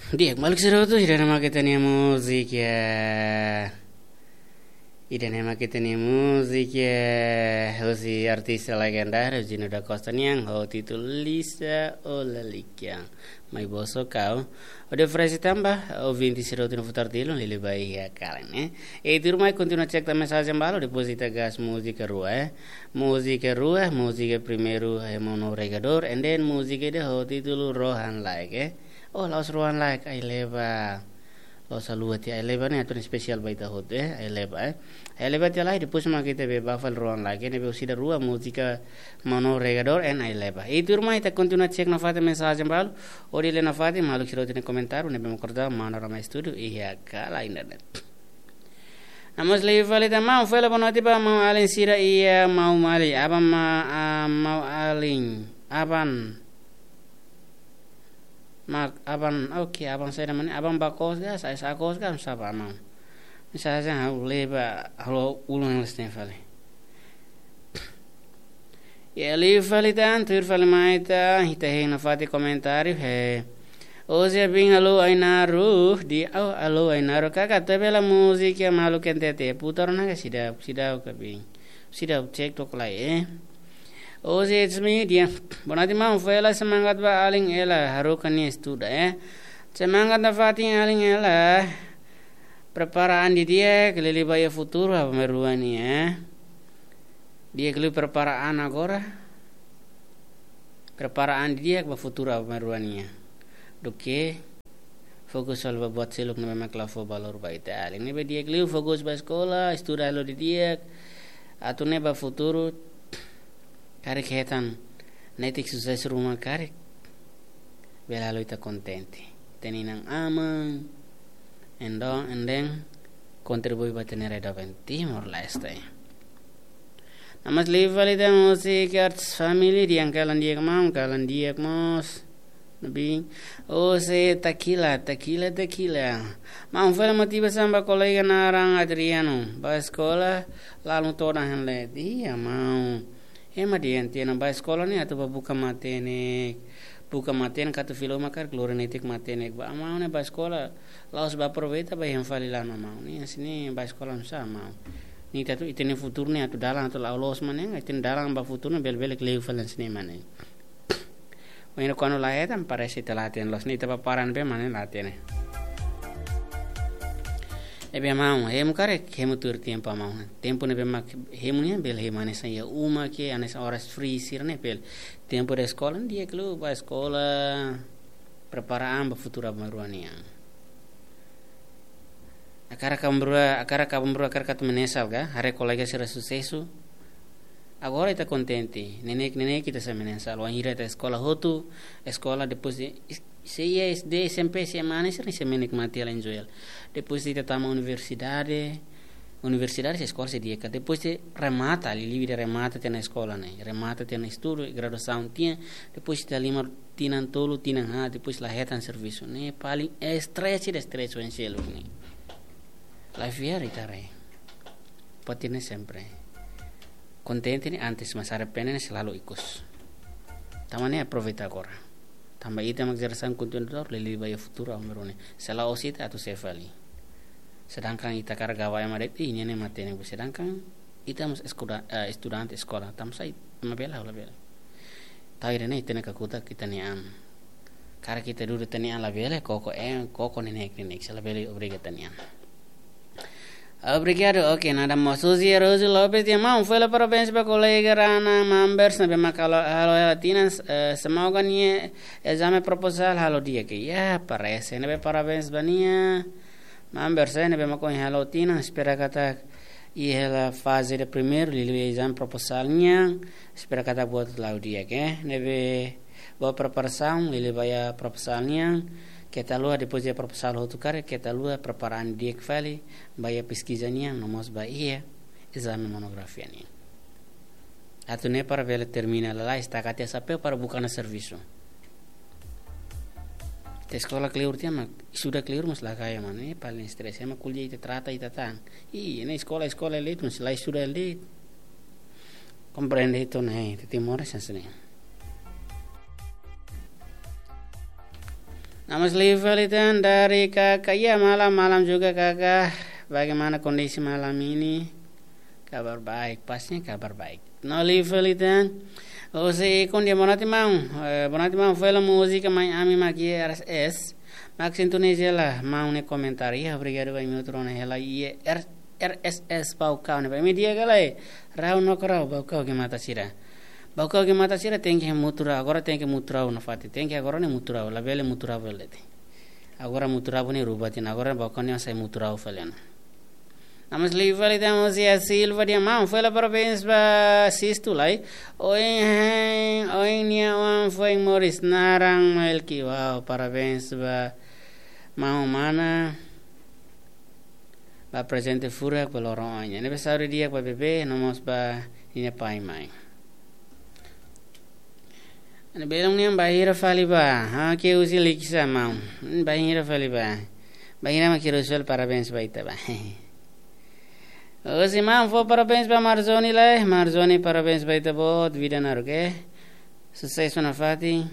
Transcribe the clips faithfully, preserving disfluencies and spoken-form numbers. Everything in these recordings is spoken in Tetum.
Di'ak, maluk sira hotu, ida-ne'e mak ita-nia múzika. Ida-ne'e mak ita-nia múzika husi artis legendáriu Gino da Costa nian, ho títulu Lisa Olalikian. Mai boso kau. Hodi oferese tan ba ouvinte sira hotu no futar tilu, liuliu ba iha kalan, eh. E tuirmai kontinua cek tan mensajen balu, depois ita gas múzika rua, eh. Múzika rua, múzika primeiru, eh, Mano Regador, and then múzika ida ho títulu Rohan Laek, eh. Oh, la'ós Rohan Laek, Ai-Leba. La'ós haluha tiha, Ai-Leba ne'e atu espesiál ba ita hotu, eh, Ai-Leba, eh. Ai-Leba tiha lai, depois mak ita bá fali Rohan Laek, eh, ne'ebé husi ida rua múzika Mano Regador and Ai-Leba. E tuirmai ita kontinua cek nafatin mensajen balu, hodi lee nafatin maluk sira hotu nia komentáriu, ne'ebé mak kordau manu rama estúdiu iha kalan internet. No mós liu fali tan, maun, fali boa noite ba maun-alin sira iha Maumali, aban ma, ah, maun-alin, aban. Mak, aban, oke, aban saida mak ne'e, aban bá kos ka, sai sa kos ka, sá ba maun. Mensajen ha'u lee ba, ha'u ulun les ne'e fali. Ya, liu fali tan, tuir fali mai tan, ita hein nafatin komentáriu, he. Oje bin alô Ainaro, di, oh, alô Ainaro, kaka, atu bele múzika maluk N T T, putar ona ka seidauk, seidauk ka bin. Seidauk, cek tok lai, eh. Oje it's me, dia. Boa noite, maun, fali semangat ba alin Ela, haruka nia estuda, eh. Semangat nafatin alin Ela. Prepara an didi'ak, liuliu ba iha futuru, aban-bainrua nian, eh. Di'ak liu prepara an agora. Prepara an didi'ak ba futuru aban-bainrua nian. Duké fokus halo ba buat seluk ne'ebé mak la fó valór ba ita-alin. Ne'ebé di'ak liu fokus ba eskola, estuda halo didi'ak. Atu nune'e ba futuru karik hetan netik susesu ruma karik, bele halo ita kontente. Ita-nia inan-aman, endo, and then kontribui ba ita-nia rai doben Timor-Leste. No mós liu fali tan múzika artis família, dehan kalan di'ak maun, kalan di'ak mós. Ne'ebé, oh, se takila, takila, takila. Maun, fali motivasaun ba kolega naran Adriano, bá eskola, lalun todan hein leet. Iya, maun. Ema dehan tiha ona bá eskola ne'e atu bá buka matenek. Buka matenek atu fila uma karik lori netik matenek. Ba maun ne'e bá eskola, la'ós bá aproveita bá hein fali lana maun. Ne'e hanesan ne'e bá eskola nusá maun. Ne'e ita atu, ita-nia futuru ne'e atu dalan atu la'o loos mak ne'e, ita-nia dalan ba futuru ne'e bele-bele kleur fali hanesan ne'e mak ne'e. Wainhira kuandu la hetan parese ita la hatene loos, ne'e ita bá para ne'ebé mak ne'e la hatene. Ne'ebé maun, hemu karik, hemu tuir tempu maun. Tempu ne'ebé mak hemu nian bele hemu hanesan iha uma ka, hanesan oras free sira-ne'e bele. Tempu de eskola, di'ak liu bá eskola, prepara an ba futuru aban-bainrua nian. Hakarak aban-bainrua, hakarak aban-bainrua, hakarak atu menyesal ka, haree kolega sira susesu. Agora ita kontente, neineik-neineik ita sei menyesal. Wainhira ita eskola hotu, eskola depois de, se iha S D, S M P, S M A ne'e sira-ne'e sei menikmati hela, enjoy hela. Depois ita tama universidade, universidade sei eskola sei di'ak. Depois de remata, liuliu ida remata tiha ona eskola ne'e, remata tiha ona estudu, graduasaun tiha, depois ita halimar tinan tolu, tinan haat, depois la hetan servisu. Ne'e paling estresse ida, estresse oin seluk ne'e. Life ya, ita haree. Pati ne'e sempre. Kontente ne'e antes, mas arrepende ne'e selalu ikus. Tanba ne'e aproveita agora. Tanba ita mak jerasaun kontinuadór, liuliu ba iha futuru aban-bainrua ne'e. Se la'ós ita atu sé fali. Sedangkan ita hakarak gaba ema de'it, ih, ne'e matenek. Sedangkan ita mós eskola, eh, estudante eskola, tanba sá ema bele, labele. Tau ida-ne'e ita-nia kakutak ita-nia an. Karik ita dudu ita-nia an labele, koko, eh, koko neineik-neineik, se labele obriga ita-nia an. Obrigadu, oke, nada mós. Suzy Rose Lopes dehan maun, fali parabéns ba kolega Rana Mambers ne'ebé mak halo, halo hela tinan, eh, semoga nia ezame proposal halo di'ak. Ya, parese ne'ebé parabéns ba nia. Mambers, eh, ne'ebé mak ohin halo tinan, espera katak iha hela faze de primeiru, liuliu ezame proposal nian, espera katak buat la'o di'ak, eh. Ne'ebé ba preparasaun, liuliu ba iha proposal nian, keta haluha depois de proposal hotu karik, keta haluha prepara an di'ak fali, ba iha peskiza nian, no mós ba iha ezame monografia nian. Atu nune'e para bele termina lalais, taka tiha xapeu para buka ona servisu. Ita eskola kleur tiha mak, estuda kleur mas la kaer mak ne'e, paling estresse, ema ko'alia ita trata ita tan. Ih, ne'e eskola, eskola hela de'it, mas la estuda hela de'it. Komprende ita ne'e, ita Timor hanesan ne'e. Namas liu fali tan dari kakak. Iya, malam, malam juga kakak. Bagaimana kondisi malam ini? Kabar baik, pastinya kabar baik. No liu fali tan. Husi Ikun dia, boa noite maun. Eh, boa noite maun, fali múzika mai ami mak iha R S S. Mak sintoniza hela maun nia komentáriu. Iya, obrigadu ba imi hotu rona hela iha R-, R S S Baucau ne'ebá. Imi di'ak ka lae? Rau no rau, Baucau ke mata sira. Baucau ke mata sira tenke mutu rau, agora tenke mutu rau nafatin. Tenke agora ne'e mutu rau, labele mutu rau bele te. Agora mutu rau ne'e rubah tiha ona, agora Baucau ne'e sai mutu rau fali ona. Namas liu fali tan husi Silva dia, maun, fali parabéns ba Sistu lai. Ohin, ohin nia oan foin moris, naran Melki. Wow, parabéns ba maun mana. Ba prezente furak ba loron oan nian. Ne'ebé saúde di'ak ba bebé, no mós ba ninia pai mai. Ne'e belun nian bainhira fali bá. Ha, ke husi Likisá maun. Hmm, bainhira fali bá. Bainhira mak ke husi fali, parabéns ba ita bá. Husi maun fó parabéns ba Marzoni lai. Marzoni, parabéns ba ita boot, vida naruk, eh. Susesu nafatin.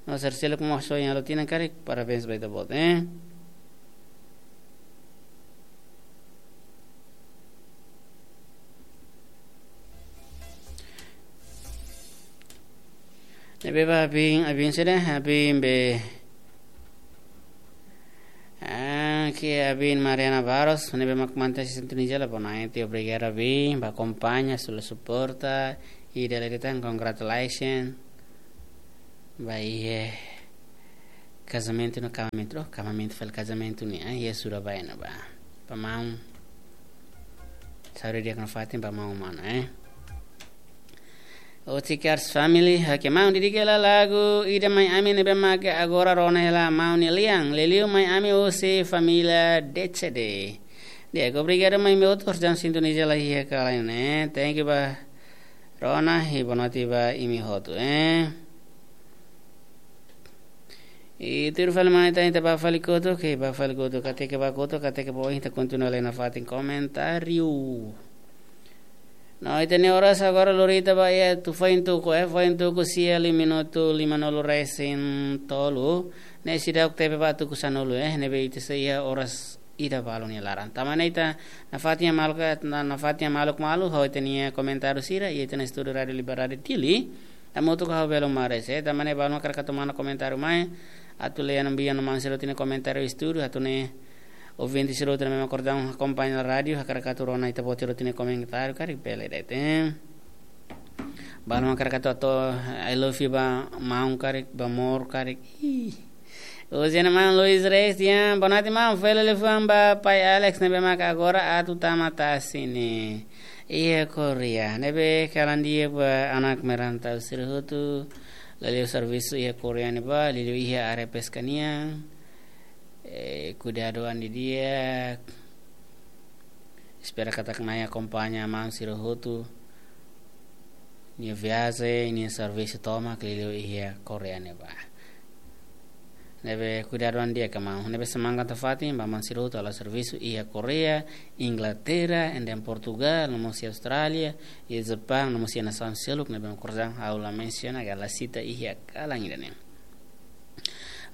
No sira seluk mós ohin halo tinan karik, parabéns ba ita boot, eh. Ne'ebé ba abin, abin sira, abin be. Ah, ke abin Mariana Barros, ne'ebé mak mantein sintoniza hela, boa noite, obrigadu abin ba akompaña, sula suporta, i dala ida tan congratulations. Ba iha kazamentu no kamamentu, oh, kamamentu fali kazamentu nian, eh, iha Surabaya ne'ebá. Ba maun. Saúde di'ak nafatin ba maun mana, eh. Otikars family, oke maun, dedika hela lagu ida mai ami ne'ebé mak agora rona hela maun nia lian, liuliu mai ami husi família D C D. Di'ak, obrigadu mai imi hotu, jam sintoniza hela iha kala ne'e. Thank you ba rona, i boa noite ba imi hotu, eh. I tuir fali mai ita, ita bá fali kotuk, ke bá fali kotuk, katak ke bá kotuk, katak ke bá oin ita kontinua lai nafatin komentáriu. No, ita-nia oras agora lori ita bá iha tuku, foin tuku, eh, foin tuku sia liu minutu limanulu resin tolu. Ne'e seidauk tebe ba tuku sanulu, eh, ne'ebé ita sei iha oras ida balu nia laran. Tanba ne'e ita nafatin maluk, na, nafatin maluk malu, ha'u ita-nia komentáriu sira, iha ita-nia estúdiu Rádiu Liberdade Dili. Hamutuk ho ha'u Belo Mares, eh, tanba ne'e balu mak hakarak atu manda komentáriu mai, atu lee no envia no maun sira hotu nia komentáriu estúdiu, atu nune'e ouvinte sira hotu ne'ebé mak kordang akompaña rádiu, hakarak atu rona ita-boot sira hotu nia komentáriu, karik bele de'it. Balu mak hakarak atu, atu, I love you ba maun karik, ba amor karik. Ih. Husi maun Luis Reis, ya, boa noite maun, fali liafuan ba pai Alex ne'ebé mak agora atu tama tasi ne'e iha Korea. Ne'ebé kalan di'ak ba anak merantau sira hotu. Liuliu servisu iha Korea ne'ebá, liuliu iha área peska nian. Eh, kuidadu an didi'ak. Espera katak Na'i akompaña maun sira hotu nia viajen, nia servisu tomak liuliu iha Korea ne'ebá. Ne'ebé kuidadu an di'ak ka maun. Ne'ebé semangat nafatin ba maun sira hotu halo servisu iha Korea, Inglaterra, ende Portugal, no mós iha Austrália, iha Japaun, no mós iha nasaun seluk ne'ebé mak kordang ha'u la mensiona ka la sita iha kalan ida-ne'e.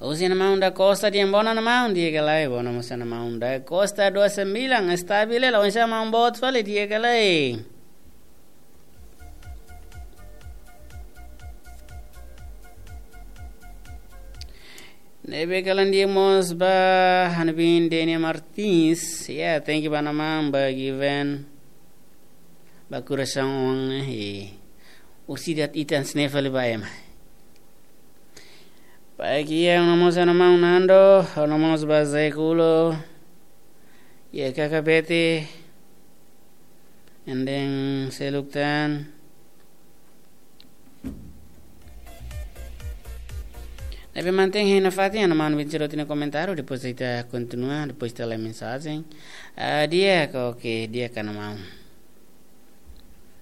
Husi maun Da Costa, di'ak, boa noite maun, di'ak ka lae? Boa noite maun Da Costa dua sembilan, estabil hela, oinsá maun boot fali, di'ak ka lae? Ne'ebé kalan di'ak mós ba ha'u-nia bin Denia Martins, ya, thank you ba maun, ba Given, ba Kurasaun, eh, ursidat itan sne fali ba ema. Baik, ya, no mós ba maun Nando, no mós ba Zekulo, ya, kaka Bete, ende seluk tan. Ne'ebé mantein hein nafatin, maun bin sira hotu nia komentáriu, depois ita kontinua, depois ita lee mensajen. Ah, di'ak, oke, di'ak ka maun.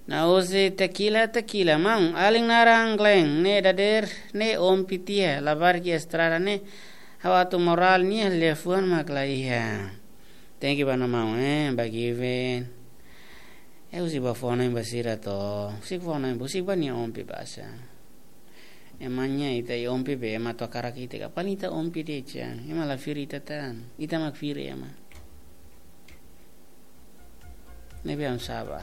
No husi Tequila, Tequila, maun, alin naran Glenn, ne'e dadeer, ne'e ompi tiha, labarik iha estrada ne'e, ha'u atu morál nia liafuan mak la iha. Thank you ba maun, eh, ba Given. Eh, husik ba fó ona ba sira to. Husik fó ona, husik ba nia ompi basa. Ema nia, ita iha ompu be, ema atu hakarak ita ka. Paling ita ompu de'it, ema la firi ita tan. Ita mak firi ema. Ne'ebé ami saba.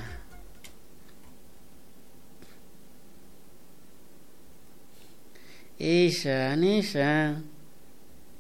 Isa, Nisa.